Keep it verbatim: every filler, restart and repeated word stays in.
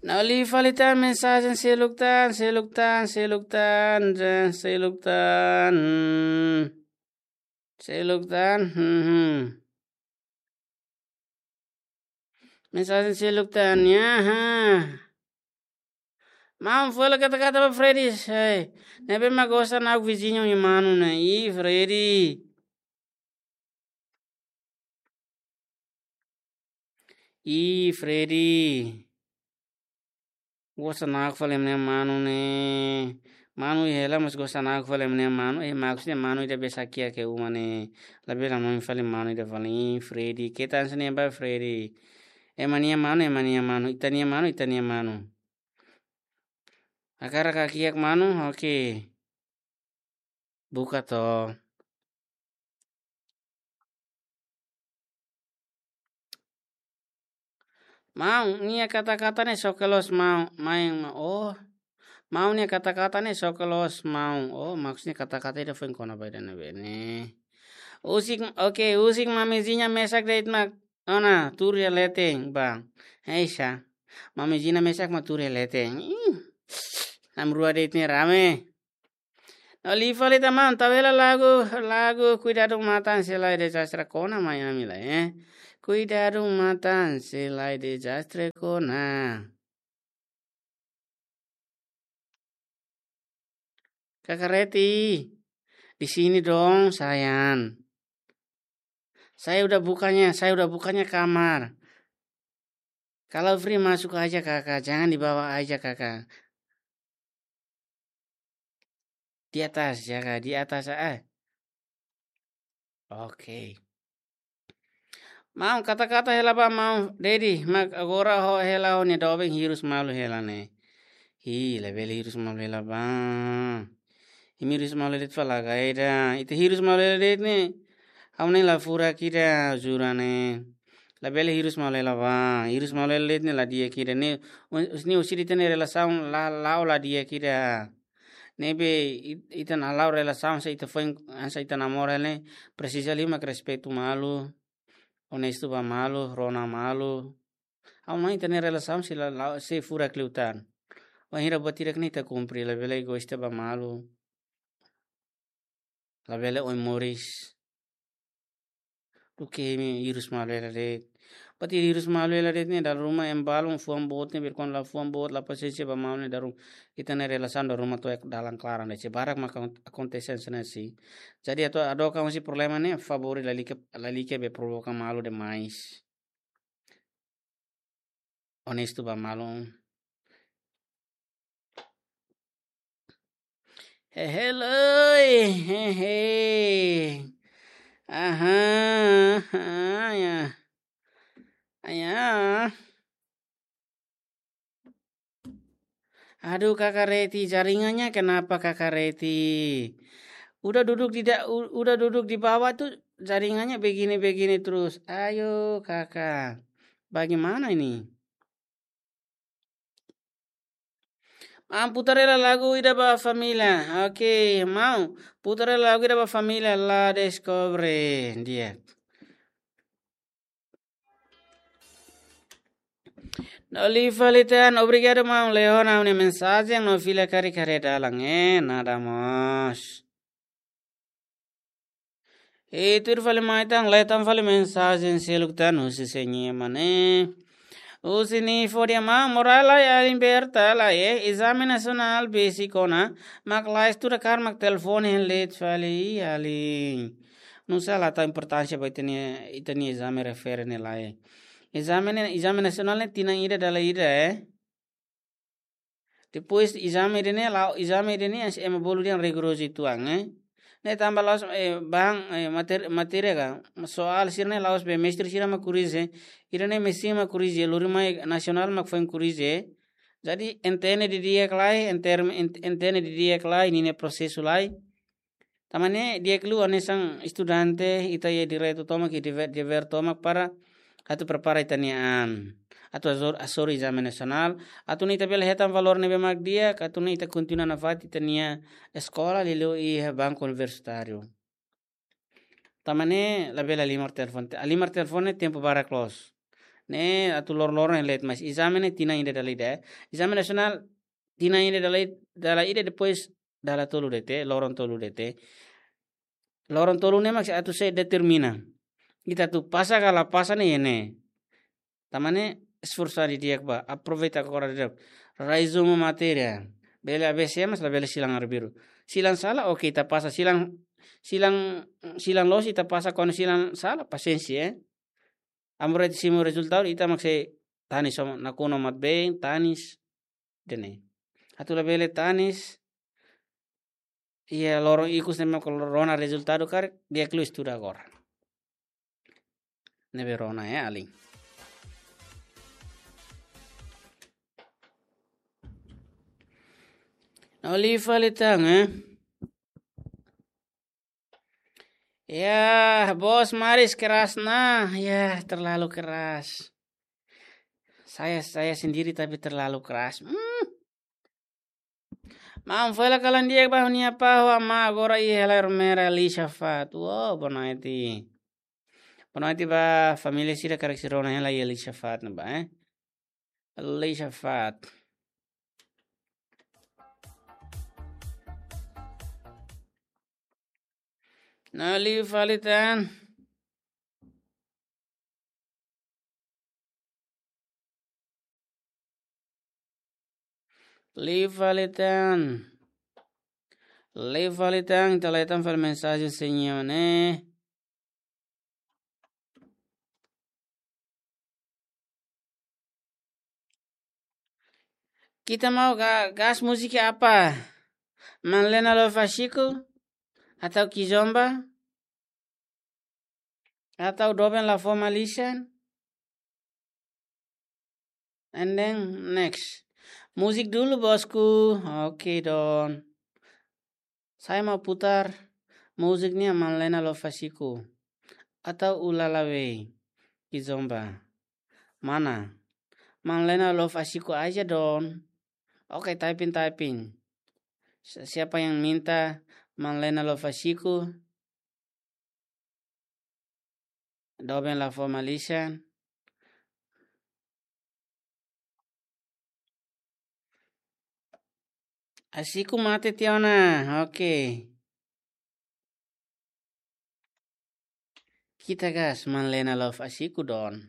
No liu fali tan mensajen seluk tan, seluk tan, seluk tan, ja, seluk tan. Seluk tan, hmm, hmm. Mensajen seluk tan, ya, ha. Maun fó hela kata-kata ba Freddy, hei. Ne'ebé mak gosta nakuk viziñu nia manu ne'e. Ih, Freddy. Ih, Freddy. Gosta nakuk fali ema nia manu ne'e. Manu hela mas gosta nakuk fali ema nia manu. Eh, maksudnya manu ida be sakia ke uma ne'e. Labele hanoin fali manu ida fali. Ih, Freddy. Keta hanesan ne'e ba Freddy. Ema nia manu, ema nia manu. Ita-nia manu, ita-nia manu. Hakarak hakiak manu, oke. Buka to. Maun nia kata-kata ne'e soke loos maun, maun, oh. Maun nia kata-kata ne'e soke loos maun. Oh, maksudnya kata-kata ida foin kona-ba ida ne'ebé ne'e. Husik, oke, husik Mami Zinha mesak de'it mak ona tuur iha leten, bang. Heisa. Mami Zinha mesak mak tuur iha leten. Ih. Namrua de'it ne'e rame. No liu fali tan maun, tau hela lagu, lagu Cuidado Matan se lai dezastre kona mai ami lai, eh. Cuidado Matan se lai dezastre kona. Kaka Reti, di sini dong, sayang. Saya udah bukanya, saya udah bukanya kamar. Kalau free masuk aja, Kakak. Jangan di bawah aja, Kakak. Di atas, ya, Kak. Di atas, ah. Oke. Maun kata-kata hela ba maun Dedi, mak agora ho hela ho-nia doben hirus malu hela ne'e. Hi, labele hirus malu hela ba. Imi hirus malu de'it fali laga ida. Ita hirus malu hela de'it ne'e. Ha'u ne'e la furak ida, jura ne'e. Labele hirus malu hela ba. Hirus malu hela de'it ne'e la di'ak ida ne'e. Us-, ne'e husi ita-nia relasaun la, la'o la di'ak ida. Ne'ebé it-, ita hala'o relasaun se ita foin, hanesan ita namora ne'e, presiza liu mak respeitu malu, onestu ba malu, rona malu. Ha'u hanoin ita-nia relasaun sei la, la, sei furak liután. Wainhira buat hirak ne'e ita kumpre, labele egoísta ba malu. Labele oin moris. Duké imi hirus malu hela de'it. Buat hirus malu hela de'it ne'e dala ruma ema balun fuan boot ne'ebé kuandu la fuan boot, la pasiénsia ba maun ne'e dala ruma. Ita-nia relasaun dala ruma to'o iha dalan klaran de'it. Se barak maka akon-, akontese hanesan ne'e. Jadi atu hadook husi problema ne'e favór lalika, lalika be provoka malu demais. Onestu ba malu. Hehe, loi, hehe. Aha, aha, ya. Aya. Aduh, Kakak Reti, jaringannya kenapa, Kakak Reti? Udah duduk di da-, u-, udah duduk di bawah tuh jaringannya begini-begini terus. Ayo, Kakak. Bagaimana ini? Maun, putar hela lagu ida ba família. Oke, maun, putar hela lagu ida ba família, La Descobre, di'ak. No liu fali tan, obrigadu maun Leona, ha'u-nia mensajen no fila karik haree dalan, eh, nada mós. I tuir fali mai tan, lee tan fali mensajen seluk tan husi sé nian mak ne'e. Husi Nifo dehan maun, moras lai alin, berta lai, eh, ezame nasionál besik ona, mak la estuda karik mak telefone hein de'it fali, alin. Nusá la tau importánsia ba ita-nia, ita-nia ezame refere ne'e lai. Ezame ne'e, ezame nasionál ne'e tinan ida dala ida, eh. Depois ezame ida-ne'e, la'o ezame ida-ne'e, hanesan ema bolu dehan rigorozu uitoan, eh. Ne'e tanba la'ós, eh, bahan, eh, mater-, matéria ka, soál sira-ne'e la'ós be mestre sira mak korrije, ida-ne'e mesin mak korrije, lori mai nasionál mak foin korrije. Jadi, entende didi'ak lai, enter-, ent-, entende didi'ak lai, ninia prosesu lai. Tanba ne'e di'ak liu hanesan estudante, ita iha direitu tomak, iha dever, dever tomak para atu prepara ita-nia an. Atu hasoru, hasoru ezame nasionál, atu nune'e ita bele hetan valór ne'ebé mak di'ak, atu nune'e ita kontinua nafatin ita-nia eskola, liuliu iha banku universitáriu. Tanba ne'e labele halimar telefone, halimar telefone tempu barak loos. Ne'e atu loron-loron hein leet, mas ezame ne'e tinan ida dala ida, eh. Ezame nasionál tinan ida dala id-, dala ida, depois dala tolu de'it, loron tolu de'it. Loron tolu ne'e mak sei atu sei determina ita atu pasa ka la pasa ne'e iha ne'e. Tanba ne'e esforsu didi'ak bá, aproveita agora didi'ak. Resumu matéria. Bele A B C mas labele silan arbiru. Silan sala, oke, ita pasa. Silan, silan, silan loos ita pasa, kuandu silan sala, pasiénsia, eh. Amu rete simu rezultadu, ita mak sei tanis, só nakonu mat-been, tanis, ida-ne'e. Atu labele tanis, iha loron ikus ne'e mak rona rezultadu karik, di'ak liu estuda agora. Ne'ebé rona, eh, alin. Na'in-lima fali tan, eh. Ya, bos Maris keras ona. Ya, terlalu keras. Saya, saya sendiri tapi terlalu keras. Hmm. Maun, foin la kalan di'ak ba ha'u-nia apá ho amá, agora iha hela Ermera Lisha Fat. Wow, boa noite. Boa noite ba família sira karik sira rona hela iha Lisha Fat ne'ebá, eh. Lisha Fat. Na'in-lima fali tan. Lima fali tan. Lima fali tan, ita la'o tan fali mensajen sira-ne'e. Kita mau ga-, gás múzika apa? Manlena Love Asiko? Atau Kizomba? Atau Doben La Forma Listen? And then next. Musik dulu, bosku. Oke, Don. Saya mau putar musik nih, Manlena Love Asiko. Atau Ulala Wey, Kizomba. Mana? Manlena Love Asiko aja, Don. Oke, typing, typing. Si-, siapa yang minta Manlena Love Asiko? Doben La Forma Listen. Asiko mate tiha ona. Oke. Kita gás, Manlena Love Asiko, Don.